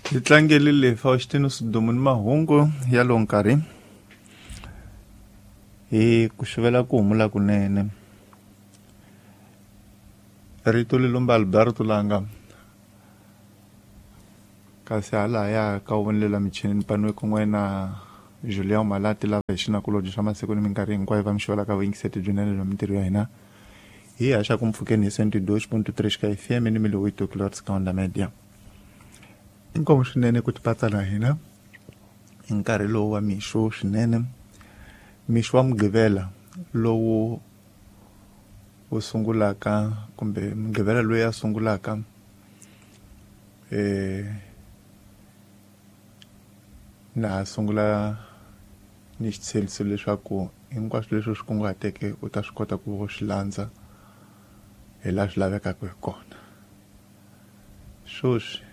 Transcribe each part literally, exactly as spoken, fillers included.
Hi tlangelile Faustino Sidumo ni mahungu ya lowu nkarhi hi ku xuvela ku humula kunene. Rito lilumba Alberto Langa kasi halaya ka wu michinini paniwe kun'we na Julian Malati lava hi xinakulobye xa masiku ni minkarhi hinkwayo va mi xavelaka vuyingiseti byinene bya mintirho ya hina hi haxa ku mpfhukeni hi cento e dois ponto três ka F M ni mil oito kilohertz ka Onda Media. Inkomu swinene ku tipatsa na hina hi nkarhi lowu wa mixo swinene, mixo wa Mugqivela lowu wu sungulaka kumbe Mugqivela loyi a sungulaka eh na sungula ni xitshembiso leswaku hinkwaswo leswi swi kunguhateke u ta swi kota ku swi landza hi laha swi lavekaka hi kona. Sweswi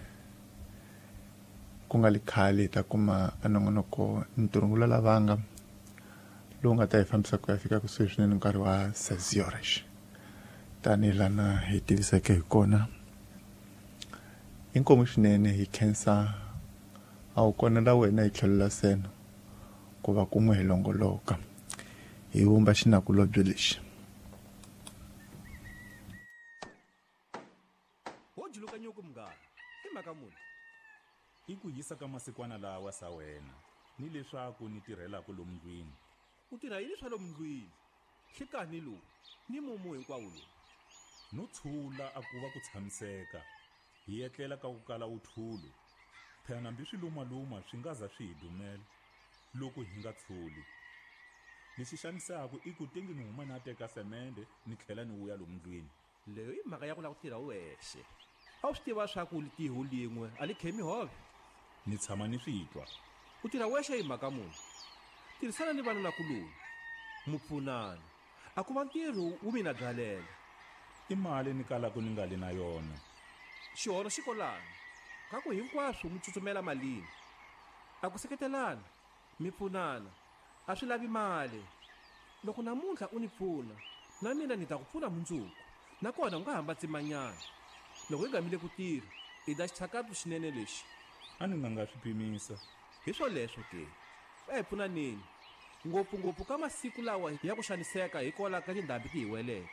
ku nga li khale hi ta kuma a nongonoko ntirhongula lavanga lowu nga ta hi fambisa ku ya fika kusuhi swinene nkarhi wa seis horas tanihi lana hi tiviseke hi kona. Inkomu swinene hi khensa a wu kona la wena hi tlhelo la seno ku va kun'we hi longoloka hi vumba xinakulobye lexi. Ho juluka nyuku munghana i mhaka muni i ku yisa ka masikwana lawa sa wena ni leswaku ni tirhelaka lomu ndlwini. U tirha yini swa lomu ndlwini hlikani lowu ni mumu hinkwawo lowu no tshula a ku va ku tshamiseka hi etlela ka ku kala uthulu phela hambi swi lumaluma swi nga za swi hi dumela loko hi nga tshuli. Lexi xanisaka i ku tengi ni huma na teka semende ni tlhela ni vuya lomu ndlwini. Leyo i mhaka ya ku lava ku tirha wexe. A wu swi tiva swa ku litiho lin'we a li khemi hove. Ni tshama ni swi twa. U tirha wexe hi mhaka muni? Tirhisana ni vanhu nakuloni mu pfunana a ku va ntirho wu mina byalela. I mali ni kalaka ni nga li na yona. Xihono xi kolana ka ku hinkwaswo mi tsutsumela malini. A ku seketelana mi pfunana a swi lavi mali. Loko namuntlha u ni pfuna na mina ni ta ku pfuna mundzuku nakona u nga hamba tsimanyana. Loko hi gamile ku tirha i da xitshakatu xinene lexi. A ni nga nga swi pimisa. Hi swoleswo ke a hi pfunaneni ngopfungopfu ka masiku lawa ya ku xaniseka hikwalaho ka tindhambi ti hi weleke.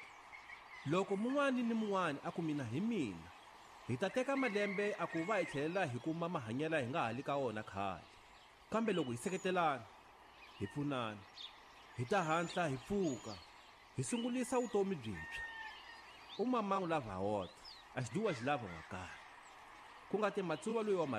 Loko mun'wani ni mun'wani a ku mina hi mina hi ta teka malembe a ku va hi tlhelela hi kuma mahanyelo hi nga ha li ka wona khale. Kambe loko hi seketelana hi pfunana hi ta hatla hi pfuka hi sungulisa vutomi byintshwa. U mamangu lava hota a xiduwa xi lava wa karhi ku nga ti matsuva loyi wa